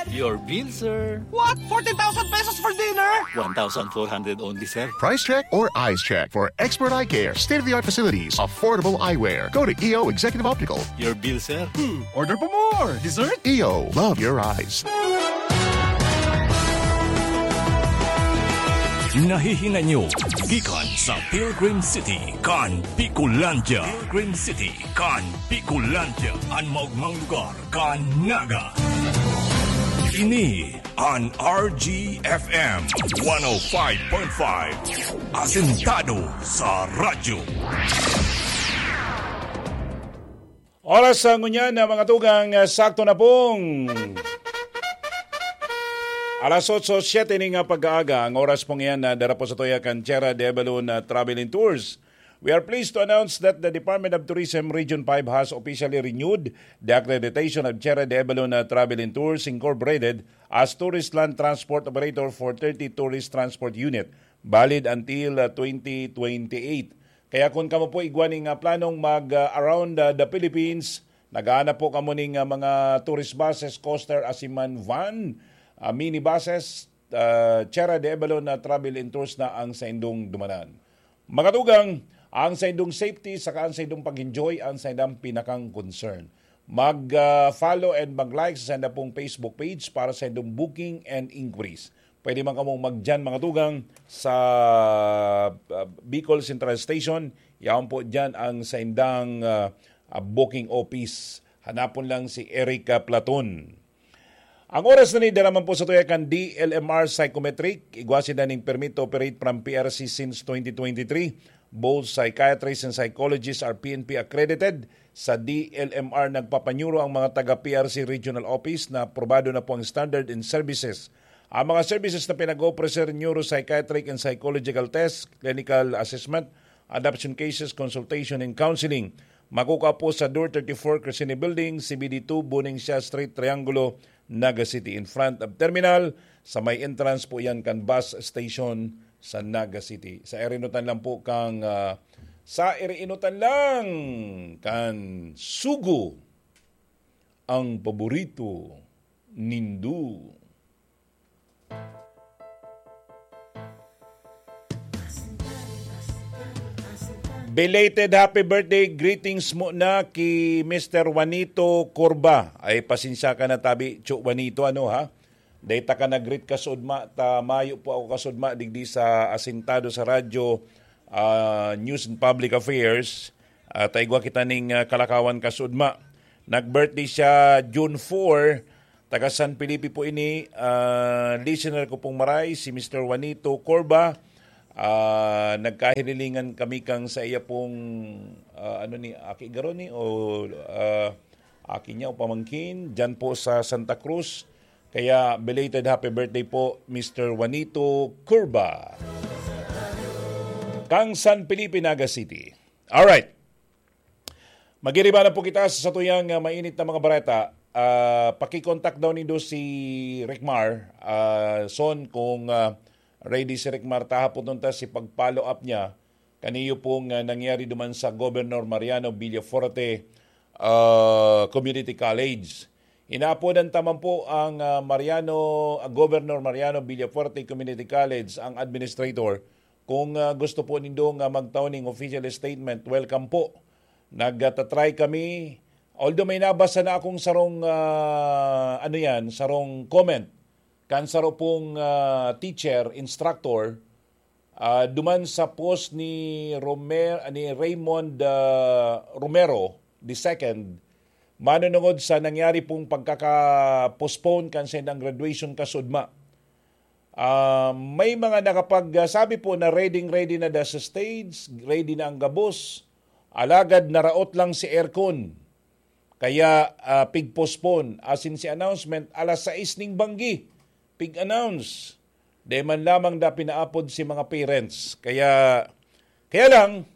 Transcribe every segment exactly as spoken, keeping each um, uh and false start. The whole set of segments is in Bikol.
Your bill, sir. What? Fourteen thousand pesos for dinner? One thousand four hundred only, sir. Price check or eyes check for expert eye care, state-of-the-art facilities, affordable eyewear. Go to E O Executive Optical. Your bill, sir. Hmm, order pa more. Dessert? E O, love your eyes. Nahihinay nyo gikan sa Pilgrim City kan Bicolandia. Pilgrim City kan Bicolandia, an maogmang lugar kan Naga. Ini an R G F M one oh five point five, asentado sa radyo. Oras sa ngunyan na mga tugang, ah, sakto na pong alas otso, siyete ning, ah, pag-aaga. Ang oras pong iyan na dara po sa tuya kan Tierra de Avalon, ah, Travel and Tours. We are pleased to announce that the Department of Tourism Region five has officially renewed the accreditation of Tierra de Avalon, ah, Travel and Tours Incorporated as tourist land transport operator for thirty tourist transport unit, valid until, ah, twenty twenty-eight. Kaya kung kamo po igwa ning, ah, planong mag, ah, around, ah, the Philippines, naghahanap po kamo ning, ah, mga tourist buses, coaster, asin man van, ah, minibuses, ah, Tierra de Avalon na travel and tours na ang saindong dumanan. Mga tugang, ang saindong safety saka ang saindong pag-enjoy ang saindang pinakang concern. Mag, ah, follow and mag-like sa sainda pong Facebook page para sa saindong booking and inquiries. Pwede man kamong magdiyan, mga tugang, sa, ah, Bicol Central Station. Yaon po diyan ang saindang, ah, ah, booking office. Hanapon lang si Eric, ah, Platon. Ang oras na ni, dara man po sa tuya kan D L M R Psychometric. Igwa sinda ning permit to operate from P R C since twenty twenty-three. Both psychiatrists and psychologists are P N P accredited. Sa D L M R, nagpapanyuro ang mga taga P R C Regional Office na aprobado na po ang standard and services. Ang mga services na pinag-oopera, sir, neuropsychiatric and psychological test, clinical assessment, adoption cases, consultation, and counseling. Makukuha po sa Door thirty-four, Crescene Building, C B D two, Buning Siya Street, Triangulo, Naga City, in front of terminal. Sa may entrance po yan kan bus station sa Naga City. Sa irinutan lang po kang, ah, sa irinutan lang kan Sugo, ang paborito nindo. Belated happy birthday greetings muna ki Mister Juanito Corba. Ay, pasensya ka na tabi, Cho Juanito, ano ha? Dahil ta ka nag-greet kasudma, ta mayo po ako kasudma digdi sa asintado sa radyo, ah, News and Public Affairs. Ah, ta igwa kita ning, ah, kalakawan kasudma. Nag-birthday siya June four, taga San Felipe po ini. Ah, listener ko pong maray, si Mister Juanito Corba. Ah, nagkahirilingan kami kang sa iya pong, ah, ano ni, aki garo ni, o, ah, aki niya o pamangkin, dyan po sa Santa Cruz. Kaya belated happy birthday po, Mister Juanito Curva. Kang San Felipe, Naga City. Alright. Magiriba na po kita sa satuyang, ah, mainit na mga bareta. Ah, pakikontak daw nindo si Rickmar, ah, Son, kung, ah, ready si Rickmar, tahapoton ta si pag-follow up niya kaniyo pong, ah, nangyari duman sa Governor Mariano Villafuerte, ah, Community College. Inaapodan ta man po ang, ah, Mariano, ah, Governor Mariano Villafuerte Community College, ang administrator. Kung, ah, gusto po nindo nga magtao ning official statement, welcome po. Nagtatry kami. Although may nabasa na akong sarong, ah, ano yan, sarong comment kan saro pong, ah, teacher, instructor, ah, duman sa post ni Romer-, ni Raymond, ah, Romero the second, manunungod sa nangyari pong pagkaka-postpone kan saindang graduation kasudma. Ah, may mga nakapag-, ah, sabi po na ready-ready na da sa stage, ready na ang gabos, alagad naraot lang si aircon. Kaya, ah, pig-postpone, asin si announcement, alas sais ning banggi, pig-announce. Di man lamang da pinaapod si mga parents. Kaya, kaya lang,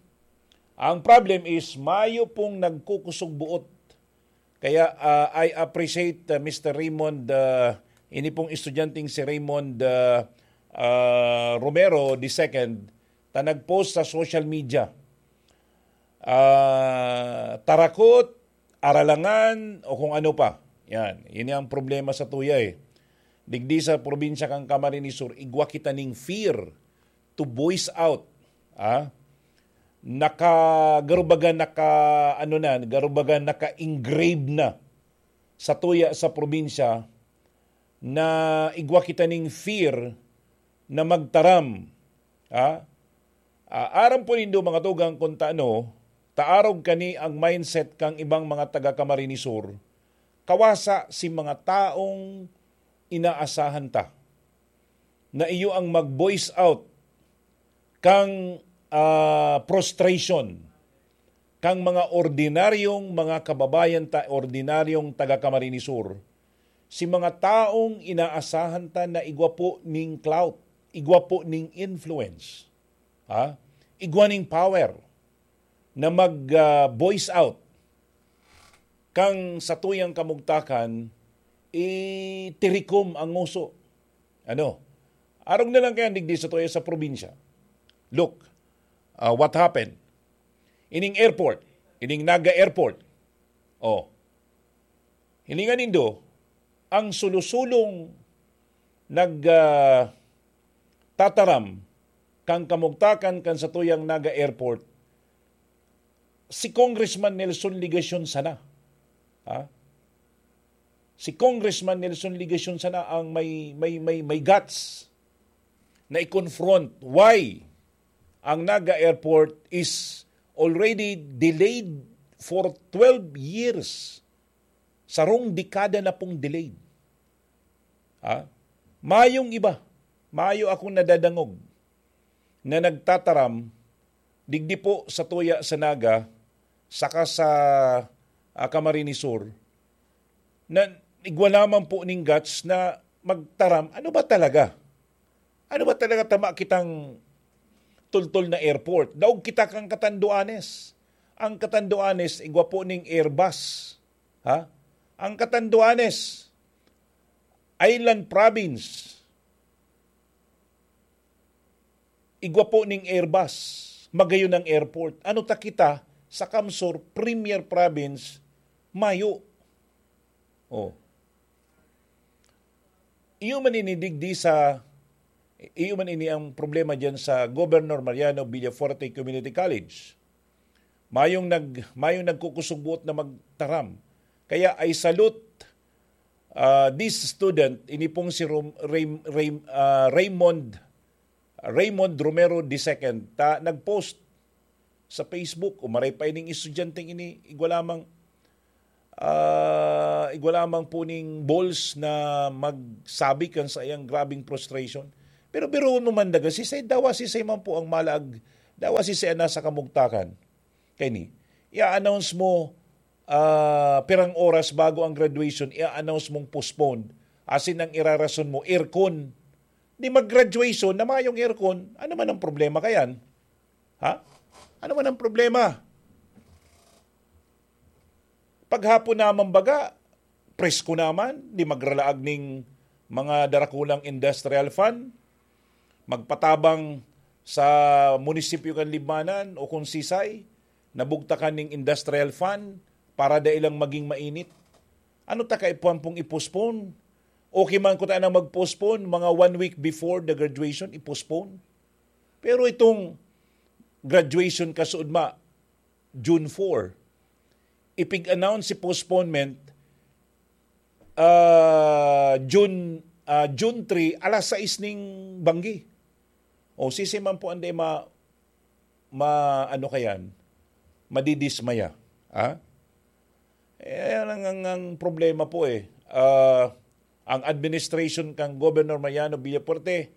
ang problem is, mayo pong nagkukusog buot. Kaya, ah, I appreciate, ah, Mister Raymond, ah, ini pong estudyanteng si Raymond, ah, ah, Romero the second, ta nag-post sa social media. Ah, tarakot, aralangan, o kung ano pa. Yan. Yun ang problema sa tuya eh. Digdi sa probinsya kan Camarines Sur, igwa kita ning fear to voice out. Ah? Naka, garubaga naka, ano na, garubaga naka-engrave na sa tuya sa probinsya na igwa kita ning fear na magtaram. Ah? Ah, aram po nindo, mga tugang, kung taano, taarog kani ang mindset kang ibang mga taga Camarines Sur, kawasa si mga taong inaasahan ta na iyo ang mag-voice out kang, ah, frustration kang mga ordinaryong mga kababayan ta, ordinaryong taga Camarines Sur, si mga taong inaasahan ta na igwa po ning clout, igwa po ning influence, ha? Igwa ning power na mag, ah, voice out kang sa tuyang kamugtakan, itirikom ang nguso. Ano? Arog na lang kaya digdi sa tuya sa probinsya. Look, ah, what happened? Ining airport, ining Naga Airport. Oh. Hilingan nindo, ang sulosulong nag, ah, tataram kang kamugtakan kan sa tuyang Naga Airport, si Congressman Nelson Legacion sana. Ha? Si Congressman Nelson Legacion sana ang may, may, may, may guts na i-confront why ang Naga Airport is already delayed for twelve years. Sarong dekada na pong delayed. Ha? Mayong iba, mayo akong nadadangog na nagtataram digdi po sa tuya sa Naga saka sa, ah, Camarines Sur, na igwa lamang po ning guts na magtaram, ano ba talaga? Ano ba talaga tama kitang tultol na airport? Daog kita kan Catanduanes. Ang Catanduanes, igwa po ning Airbus. Ha? Ang Catanduanes, island province. Igwa po ning Airbus. Magayon ang airport. Ano ta kita sa CamSur, premier province, mayo. Oh. Iyo man ini digdi sa, iyo man ini ang problema diyan sa Governor Mariano Villafuerte Community College. Mayong nag-, mayong nagkukusugbuot na magtaram. Kaya I salute, ah, this student, ini pong si Rom-, Ray-, Ray-, ah, Raymond, Raymond Romero the second, ta nag-post sa Facebook, o maray pa ining estudyanteng ini, igwa lamang, ah, igwa lamang po ning balls na magsabi kan sa iyang grabing frustration. Pero biruon mo man daga, sisay, dawa sisay man po ang malaag, dawa sisay ang nasa kamugtakan. Kaini, i-announce mo, ah, pirang oras bago ang graduation, i-announce mong postponed. Asin ang irarason mo, aircon. Di mag-graduation na mayong aircon, ano man ang problema kayan? Ha? Ano man ang problema? Paghapon naman baga, presko naman, di magralaag ning mga darakulang industrial fund, magpatabang sa munisipyo kan Libmanan o kung sisay, nabugtakan ning industrial fund para dai lang maging mainit. Ano ta kaipuhan pong i-postpone? Okay man ko ta nang mag-postpone, mga one week before the graduation, i-postpone. Pero itong graduation kasuodma, June four, ipig-announce si postponement, ah, June, ah, June three, alas sais ning banggi. O, sisay man po ang di ma-, ma-, ano kayan, madidismaya. Ha? Eh, yan ang, ang, ang problema po eh. Ah, ang administration kang Governor Mariano Villafuerte,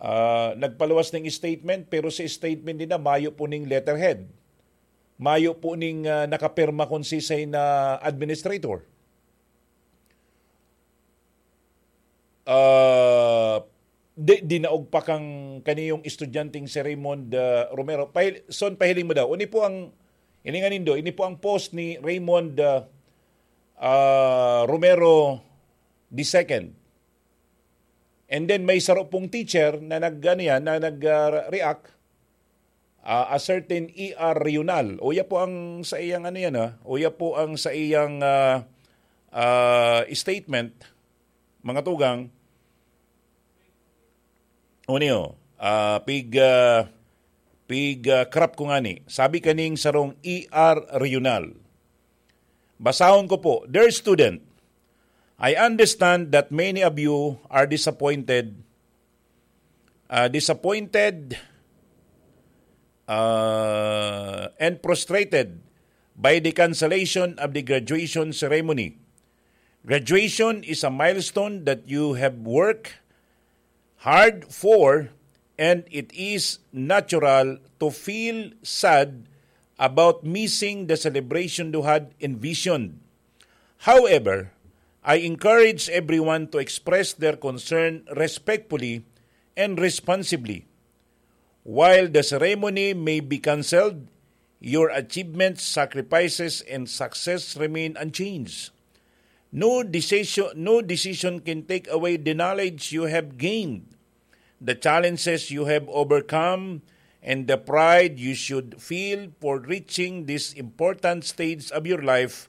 ah, nagpaluwas ng statement, pero sa statement din na mayo po ning letterhead. Mayo po ning, ah, nakapirma kung sisay na administrator. Ah, di, dinaog pa kang kaniyong estudyanteng si Raymond, ah, Romero. Pahil-, son, pahiling mo daw. Ini po ang, ini nga nindo, ini po ang post ni Raymond, ah, ah, Romero the second. And then may saro pong teacher na nag, ano yan, na nag, ah, react, ah, a certain E R Reunal. Uya po ang sa iyang ano yan, ah. Uya po ang sa iyang, ah, ah, statement, mga tugang, Unio, ah, pig, ah, pig, ah, crop ko ngani. Sabi kaning sarong E R Regional. Basahon ko po, "Dear student, I understand that many of you are disappointed, ah, disappointed, ah, and frustrated by the cancellation of the graduation ceremony. Graduation is a milestone that you have worked hard for, and it is natural to feel sad about missing the celebration you had envisioned. However, I encourage everyone to express their concern respectfully and responsibly. While the ceremony may be cancelled, your achievements, sacrifices, and success remain unchanged. No decision, no decision can take away the knowledge you have gained, the challenges you have overcome, and the pride you should feel for reaching this important stage of your life.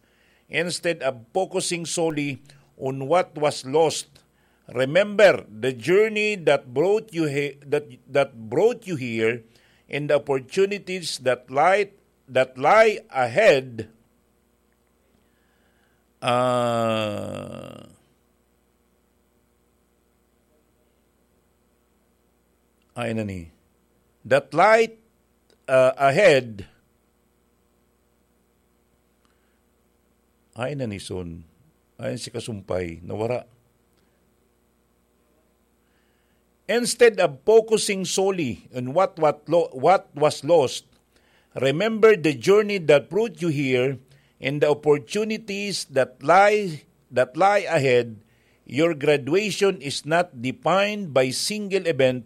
Instead of focusing solely on what was lost, remember the journey that brought you he- that, that brought you here, and the opportunities that lie that lie ahead." Ah, ay na ni. That light, ah, ahead. Ay na ni son. Ay si kasumpay. Nawara. Instead of focusing solely on what, what, lo- what was lost, remember the journey that brought you here and the opportunities that lie that lie ahead. Your graduation is not defined by single event,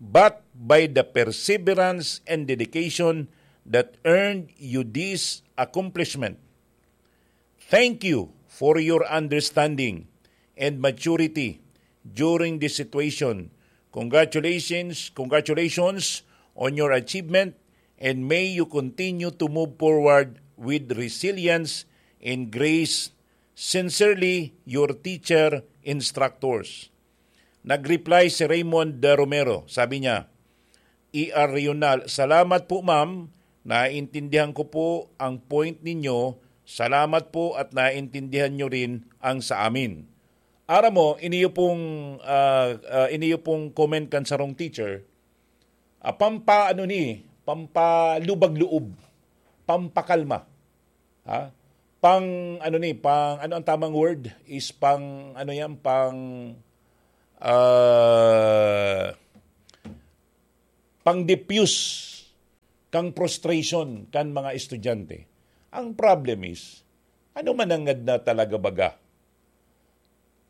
but by the perseverance and dedication that earned you this accomplishment. Thank you for your understanding and maturity during this situation. Congratulations, congratulations on your achievement, and may you continue to move forward with resilience and grace. Sincerely, your teacher, instructors. Nag-reply si Raymond Romero. Sabi niya, "E R Regional, salamat po, ma'am. Naiintindihan ko po ang point ninyo. Salamat po at naiintindihan nyo rin ang sa amin." Aram mo, iniyo pong, ah, ah, iniyo pong comment kan sarong teacher, ah, pampa-, ano ni, pampalubag-loob, pampakalma. Ha? Pang, ano ni, pang, ano ang tamang word? Is pang, ano yan, pang, ah, pang-diffuse kang frustration kan mga estudyante. Ang problem is, ano manangad na talaga baga?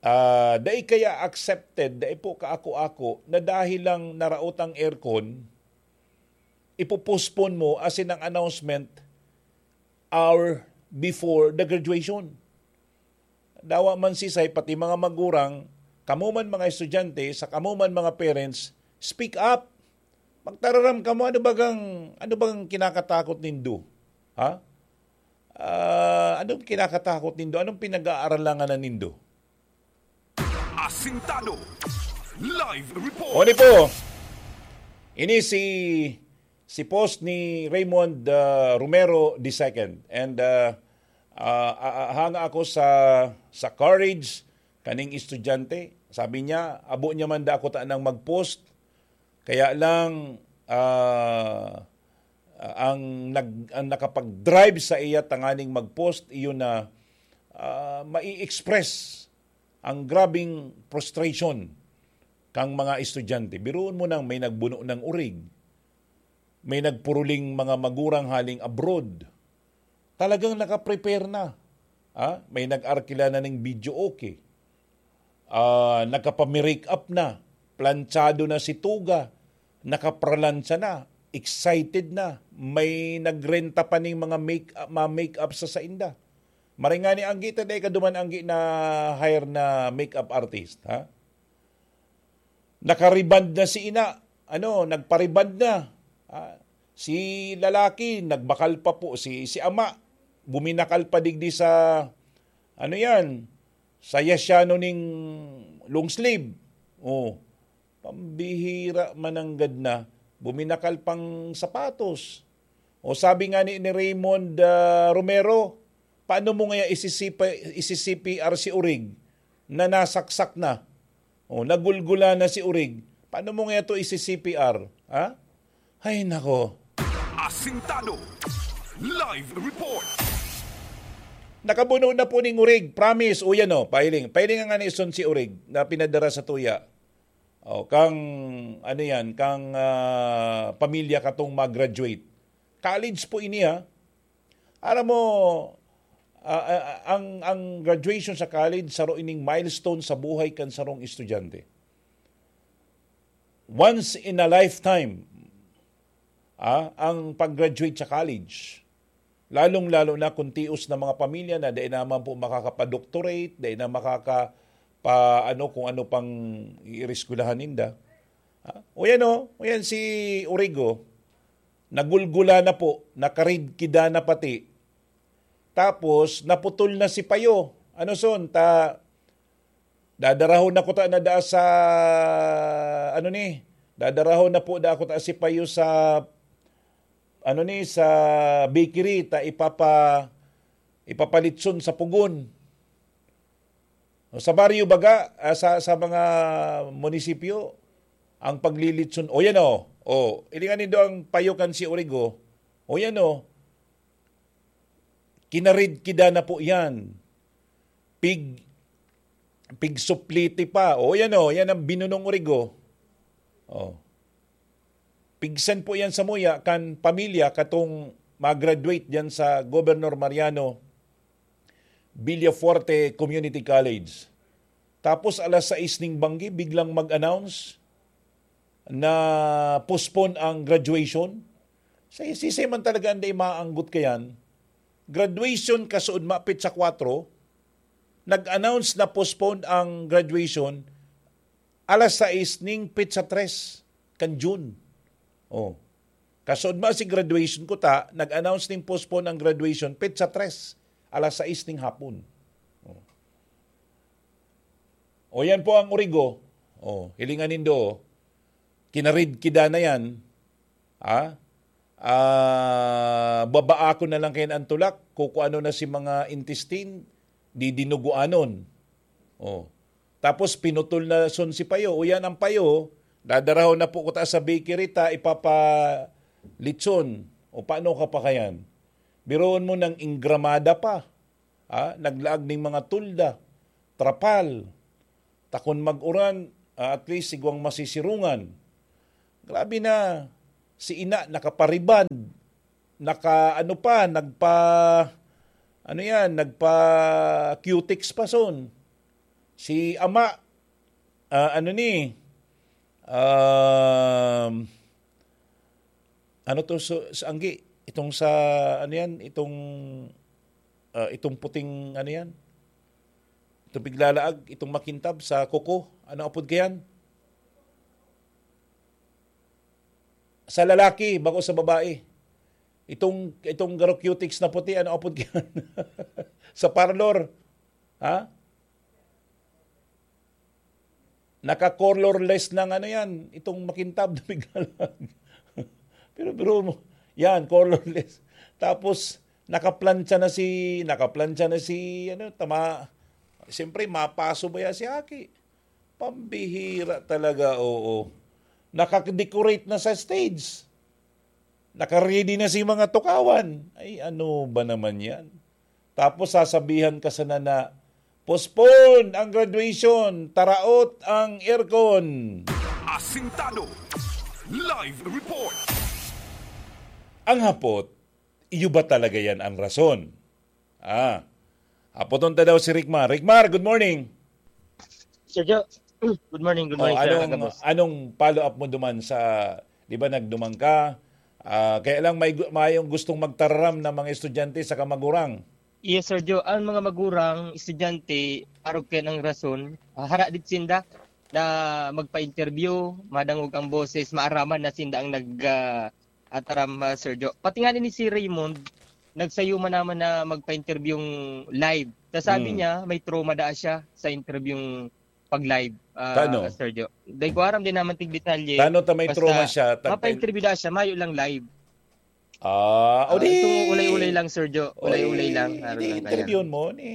Ah, dai kaya accepted, dai po kaako-ako, na dahil lang naraot ang aircon, ipo-postpone mo, as in ang announcement, hour before the graduation. Dawa man sisay, pati mga magurang, kamo man mga estudyante, sa kamo man mga parents, speak up. Magtararam kamo, ano bagang, ano bagang kinakatakot nindo? Ha? Ah, anong kinakatakot nindo? Anong pinag-aaralangan na nindo? Asintado. Live report. Oni po. Ini si, si post ni Raymond, ah, Romero the second. And, ah, ah, ah, hanga ako sa, sa courage kaning estudyante. Sabi niya, abo niya man da ako tanang mag-post. Kaya lang, ah, ang nag-, ang nakapag-drive sa iya tanganing mag-post, iyon na, ah, mai-express ang grabing frustration kang mga estudyante. Biruon mo nang may nagbuno ng urig, may nagpuruling mga magurang haling abroad. Talagang nakaprepare na. Ah, may nag-arkila na ning videoke. Ah, nakapamirik up na, plantsado na si tuga, nakapralansya na, excited na, may nagrenta pa ning mga make, mga make-up sa sainda. Maray ngani anggi ta, dai ka duman anggi na hire na make-up artist, ha? Nakariband na si ina, ano, nagpariband na. Ah, si lalaki, nagbakal pa po, si, si ama, buminakal pa digdi sa, ano yan, sa yasyano ning long sleeve. Oh. Pambihira, mananggad na. Buminakal pang sapatos. O sabi nga ni, ni Raymond, ah, Romero, "Paano mo ngaya isi-C P, isi-C P R si Urig na nasaksak na? O, nagulgula na si Urig. Paano mo ngaya to isi-C P R?" Ha? Ay, nako. Asintado. Live report. Nakabuno na po ning Urig, promise. O yan o, pahiling. Pahiling nga ni Son si Urig na pinadara sa tuya. O, kang, ano yan, kang, ah, pamilya katong mag-graduate. College po ini, ha? Alam mo, ah, ah, ang, ang graduation sa college, saro ining milestone sa buhay kan sarong estudyante. Once in a lifetime, ah, ang pag-graduate sa college. Lalong-lalo na kung tios na mga pamilya na dai naman po makakapa-doctorate, dai na makaka-, pa, ano, kung ano pang iireskwelahan ninda. Ah, o yan o, o yan si Origo, nagulgula na po, nakaridkida na pati. Tapos, naputol na si Payo. Ano, Son? Ta, dadarahon na ko ta na daa sa, ano ni? Dadarahon na po da ako ta si Payo sa, ano ni, sa bakery, ta ipapa-, ipapalitson sa pugon. O, sa baryo baga, ah, sa, sa mga munisipyo, ang paglilitson, o yan o, o, ilingan nindo ang Payo kan si Origo, o yan o, kinaridkida na po yan. Pig, pigsupliti pa. O, yan o, yan ang binunong Origo. O. Pigsan po yan sa muya kan pamilya katong mag-graduate diyan sa Governor Mariano Villafuerte Community College. Tapos alas sais ning banggi, biglang mag-announce na postpone ang graduation. Sa sisay man talaga ang dai maanggot kayan. Graduation kasuodma, petsa kwatro, nag-announce na postpone ang graduation alas sais ning petsa tres kan June. Oh. Kasuodma si graduation ko ta, nag-announce ning postpone ang graduation, petsa tres, alas sais ning hapon. Oh. O yan po ang Origo. Oh, hilingan nindo, kinaridkida na yan. Ah? Ah, babaakon na lang kayan ang tulak, kukuano na si mga intestine, didinuguanon. Oh. Tapos pinutol na son si Payo. O yan ang Payo, dadarahon na po ko ta sa bakery ta, ipapalitson. O paano ka pa kayan? Biroon mo nang inggramada pa. Ah, naglaag ning mga tulda, trapal. Ta kun mag-uran, ah, at least igwang masisirungan. Grabe na, si ina nakapariband, naka ano pa, nagpa, ano yan, nagpa-cutex pa son. Si ama, ah, ano ni, um, ano to, so, sa anggi, itong sa, ano yan, itong, ah, itong puting, ano yan, itong piglalaag, itong makintab sa kuko, ano apod kayan? Sa lalaki, bako sa babae. Itong, itong garo cutex na puti, ano apod kayan? Sa parlor. Ha? Naka-colorless ng ano yan, itong makintab na piglalaag. Pero biro mo, yan, colorless. Tapos, nakaplantsa na si, nakaplantsa na si, ano, tama, siyempre, mapaso ba yan si Aki? Pambihira talaga, oo. Naka-decorate na sa stage. Naka-ready na si mga tukawan. Ay, ano ba naman yan? Tapos sasabihan ka sana na, "Postpone ang graduation, taraot ang aircon." Asintado. Live report. Ang hapot, iyo ba talaga yan ang rason? Ah, hapoton ta daw si Rickmar. Rickmar, good morning. Sir Joe, good morning, good Oh, morning, sir. Anong, Agabos. Anong follow-up mo duman sa, di ba, nagduman ka? Ah, kaya lang may gu-, mayong gustong magtararam na mga estudyante sa kamagurang. Yes, Sir Joe. Ang mga magurang, estudyante, arog kayo ng rason, ah, hara dit sinda na magpa-interview, madangog ang boses, maaraman na sinda ang nag, ah, ataram, ah, Sir Joe. Pati nga ni si Raymond, nagsayo man naman na magpa-interview yung live. Ta sabi Mm. niya, may trauma daa siya sa interview yung pag-live. ah, Tano? Sir Jo. Dai ko aram din naman tig detalye. Tano ta may Basta, trauma siya, tagpa- mapa-interview na siya, mayo lang live. Ah, o Ah, di. itong ulay-ulay lang, Sir Jo. Ulay-ulay Oy, lang, araw di lang kaya. interviewon mo, ni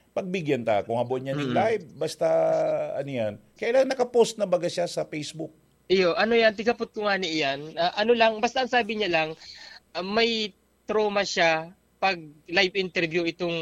pagbigyan ta kung habo niya ning Mm. live, basta, ano yan. Kailan nakapost na baga siya sa Facebook? Iyo, ano yan, tigapot ko nga ni iyan. Ah, ano lang, basta ang sabi niya lang, ah, may trauma siya pag live interview itong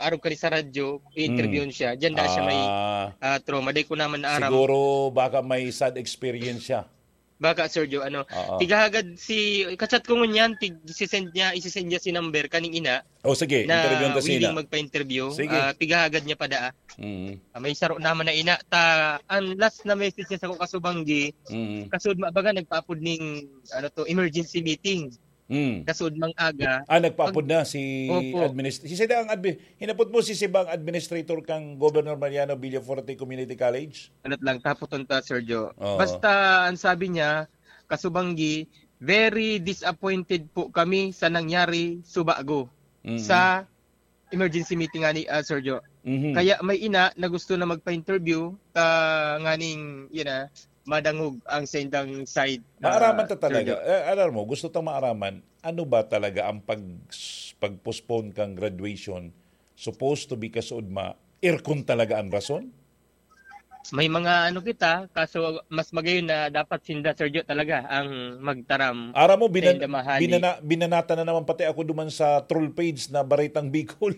arog kani sa radyo, i-interviewon Mm. siya. Diyan na siya may, Ah. ah, trauma. Di ko naman naaram. Siguro baka may sad experience siya. Baka, Sir Jo, ano, Oo. tighahagad si, kachat ko ngunyan, tig, isisend niya, isisend niya si number kaning ina Oh, sige, na interviewon ta willing sila. magpa-interview. Sige. Ah, tighahagad niya pa daa. Mm. Ah, may saro naman na ina. Ta, ang last na message niya sa ko kasubanggi, Mm. kasud ma-, baga nagpaapod ning, ano to, emergency meeting. Mm. Kasud mang aga. Ah, nagpaapod Pag na si Opo. adminis-, si sila ang admi-, hinapot mo si Sibang administrator kang Governor Mariano Villafuerte Community College? Anot lang, tapoton ta, Sir Jo. Oo. Basta, ang sabi niya, kasubanggi, "Very disappointed po kami sa nangyari subago Mm. sa emergency meeting nga ni, ah, Sir Jo." Mhm. Kaya may ina na gusto na magpa-interview, ta nganing, yun na, madangog ang sa indang, ah, Maaraman ta Sir talaga. Jo. Eh, alam mo, gusto tang maaraman, ano ba talaga ang pag-, pag-postpone kang graduation? Supposed to be kasuodma, aircon talaga ang rason? May mga ano kita, kaso mas magayon na dapat sinda, Sir Jo, talaga ang magtaram Aram mo, sa binan-, indamahan ni binana-, binanata na naman pati ako duman sa troll page na Baretang Bicol.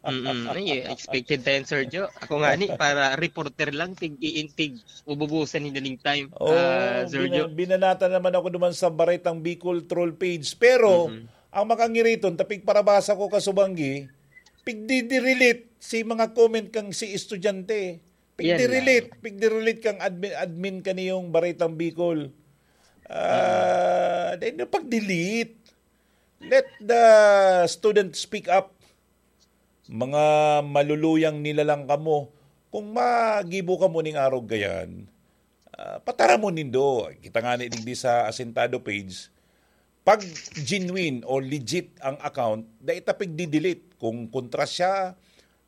Mm-mm. Ay, expected tayo, Sir Jo. Ako nga ni, para reporter lang, tig-iintig, ububusan ni daling time, Oo, ah, Sir bina-, Jo. binanata naman ako duman sa Baretang Bicol troll page. Pero, Mm-mm. ang makangiriton, tapig parabasa ko kasubanggi, pigdidirelete si mga comment kang si estudyante. Yan lang. Pigdi-relate, pigdi-relate kang admin, admin kaniyong Baretang Bicol. Ah, Mm. Then, pag-delete. Let the student speak up. Mga maluluyang nilalang kamo. Kung magibo kamo ning arog gayan, ah, pataramon nindo. Kita nga ni digdi sa Asintado page, pag genuine o legit ang account, dai ta pigdi-delete. Kung kontra siya,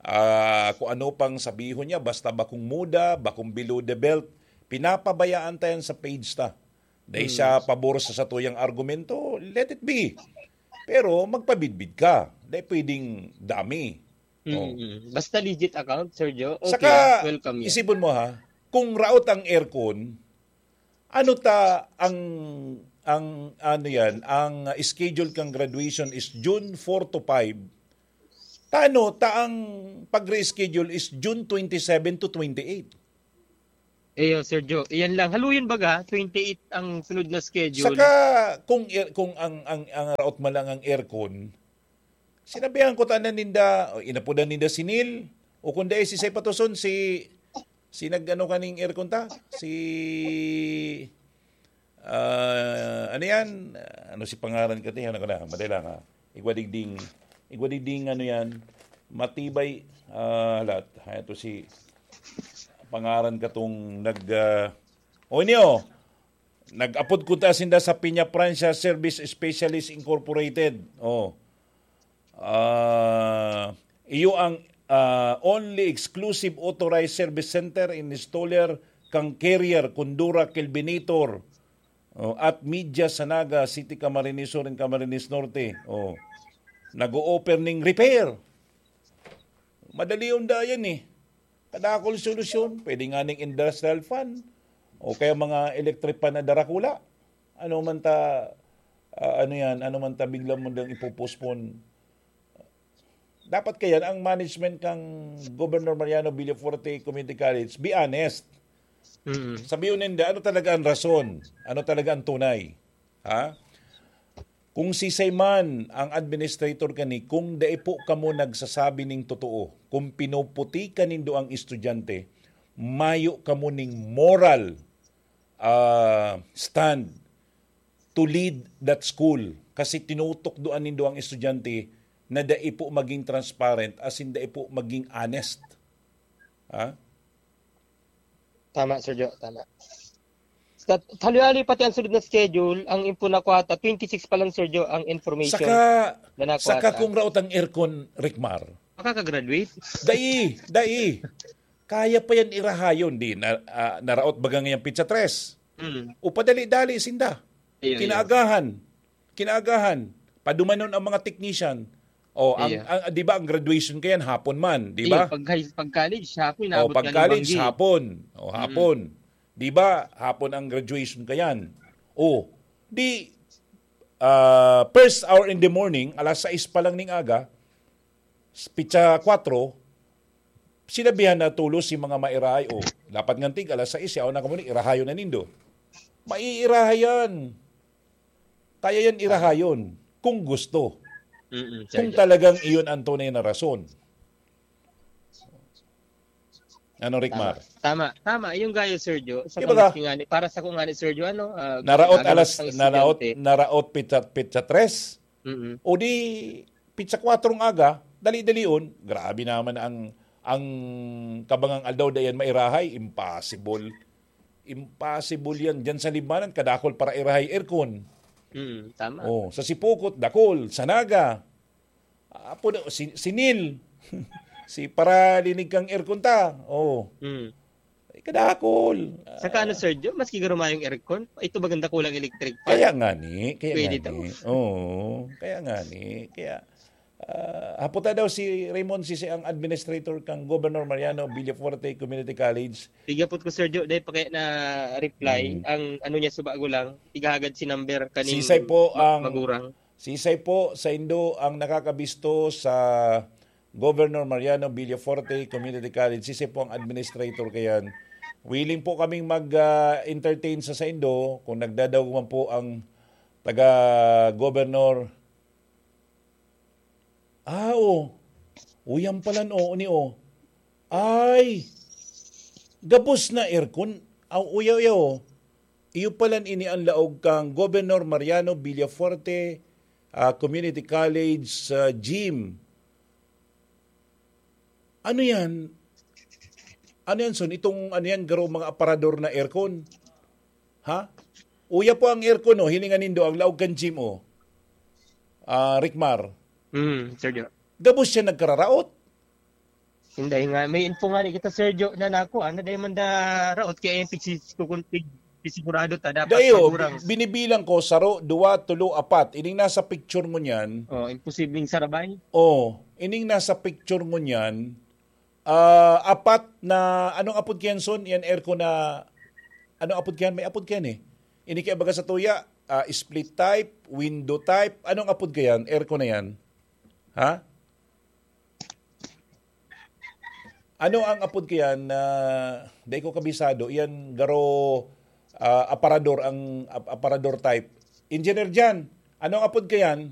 ah, kung ano pang sabihon niya, basta bakong muda, bakong below the belt, pinapabayaan ta yan sa page ta. Dai siya Hmm. pabor sa satuyang argumento, let it be. Pero magpabidbid ka. Dai pwedeng dami. Oh. Mm. Basta legit account, Sir Jo, okay, Saka, welcome yan. isipon mo ha, kung raot ang aircon, ano ta ang, ang ano yan, ang schedule kang graduation is June four to five. Tano ta ang pag-reschedule is June twenty-seven to twenty-eight. Iyo, Sir Jo. Iyan lang. Haluyon baga, twenty-eight ang sunod na schedule. Saka, kung air-, kung ang, ang, ang raot man lang ang aircon, sinabihan ko tanan ninda, o inapodan ninda si Neil, o kung dai si Say Patuson, si, si nag-ano kaning aircon ta? Si, ah, ano yan? Ano si pangaran ka? Tingnan ko na, madali lang ha. Igwa digding, igwa digding ano yan, matibay, ah, lahat. Ha, ito si pangaran katong nag, ah, o niyo, nag-apod ko ta sinda sa Peña Francia Service Specialist Incorporated. Oh. Ah, iyo ang, ah, only exclusive authorized service center and installer kang Carrier, Condura, Kelvinator, oh, at Media sa Naga, City Camarines Sur and Camarines Norte. Oh. Nag-o-offer ning repair. Madali yung dayan eh. Kadakol solusyon. Pwede nga ning industrial fan. O kaya mga electric fan na darakula. Ano man ta, ah, ano yan, ano man ta bigla mo nang ipopostpone. Dapat kaya ang management kang Governor Mariano Villafuerte Community College, be honest. Mm. Sabihin ninda, ano talaga ang rason? Ano talaga ang tunay? Ha? Kung sisay man ang administrator kani, kung dai po kamo nagsasabi ning totoo, kung pinuputi ka nindo ang estudyante, mayo kamo ning moral, ah, stand to lead that school. Kasi tinutukdoan nindo ang estudyante na dai po maging transparent, as in dai po maging honest. Ha? Tama, Sir Jo, tama. Sa, hali-hali pati ang sunod na schedule, ang info na kuwata, twenty-six pa lang, Sir Jo, ang information Saka, na nakuha saka ta. Kung raot ang aircon, Ricmar. Makakagraduate? Dai, dai. Kaya pa yan irahayon, di na, ah, naraot baga ngayang pitsa tres. Mm. O padali-dali sinda. Iyo, iyo. Kinaagahan. Kinaagahan. Padumanon ang mga technician. O, ang, Iyo. ang, di ba, ang graduation kayan, hapon man, di Iyo, ba? pag, high- pag college, hapon, O, inabot pag ka ng college, banggi. hapon. O, hapon. Di ba, hapon ang graduation kayan. O, di, ah, first hour in the morning, alas sais pa lang ning aga, pitsa kwatro, sinabihan na tulos si mga mairahay, "O, dapat ngantig, alas sais, yaon na kamo ni, irahayon na nindo." Maiirahay yan. Kaya yan irahayon, kung gusto. Mm-mm, Kung Sergio. talagang iyon ang tunay na rason. Ano, Rickmar? Tama, tama. Yung gayo, Sergio, sa Di ba? Kangani, para sa kung ngani, Sergio, ano, ah, Naraot ano, alas, isang naraot, estudyante. Naraot pitsa, pitsa tres. Mm-mm. O di, pitsa kwatrong aga, dali-dalion, grabe naman ang, ang kabangang aldaw dayan mairahay. Impossible. Impossible yan. Diyan sa Libmanan, kadakol para irahay aircon. Mm, tama. Oh, sa Sipokot, dakol. Sa Naga, apo na, si, si Neil. Si para linig kang aircon ta. Oh, Mm. kadakol. Saka ano, Sergio, maski garo mayong aircon, ito maganda kulang electric fan. Kaya nga ni, kaya Pwede nga daw. ni. Oo, kaya nga ni. Kaya, ah, haputa daw si Raymond Sisi ang administrator kang Governor Mariano Villafuerte Community College. Tigapot ko, Sergio, dahil pa kaya na reply, Mm. ang ano niya, subago lang, igahagad si number kaning Sisay po ma- ang- magurang. Sisay po sa indo ang nakakabisto sa Governor Mariano Villafuerte Community College. Sisay po ang administrator kayan. Willing po kaming mag-entertain sa saindo kung nagdadaog man po ang taga-governor. Ah, oh. Uyan pala, no, ni, oh. Ay, gabos na aircon. Aw, uya, uya, oh. Iyo palan ini ang laog kang Governor Mariano Villafuerte, ah, Community College, ah, gym. Ano yan? Ano yan, Son? Itong, ano yan, garo mga aparador na aircon? Ha? Uya po ang aircon, oh. Hilingan nindo, ang laog kan gym, oh. Ah, Rickmar. Mm, Sergio. Gabos siya nagkararaot. Hindi nga, may info nga ni kita, Sergio, na nako, ano, dahil man da raot kaya yung pigsis-, kukun-, pig-, pigsigurado ta, dapat Dayo, magurang. Binibilang ko, saro, duwa, tulo, apat. Ining nasa picture mo niyan, Oh, imposibleng sarabay. oh, ining nasa picture mo niyan, ah, apat na, anong apod kayan, Son? Yan aircon na, anong apod kayan? May apod kayan eh. Ini kaya baga sa tuya, ah, split type, window type, anong apod kayan? Aircon na yan? Ha? Ano ang apod kayan na, dai ko kabisado, iyan garo, ah, aparador ang ap- aparador type. Engineer Jan, ano ang apod kayan?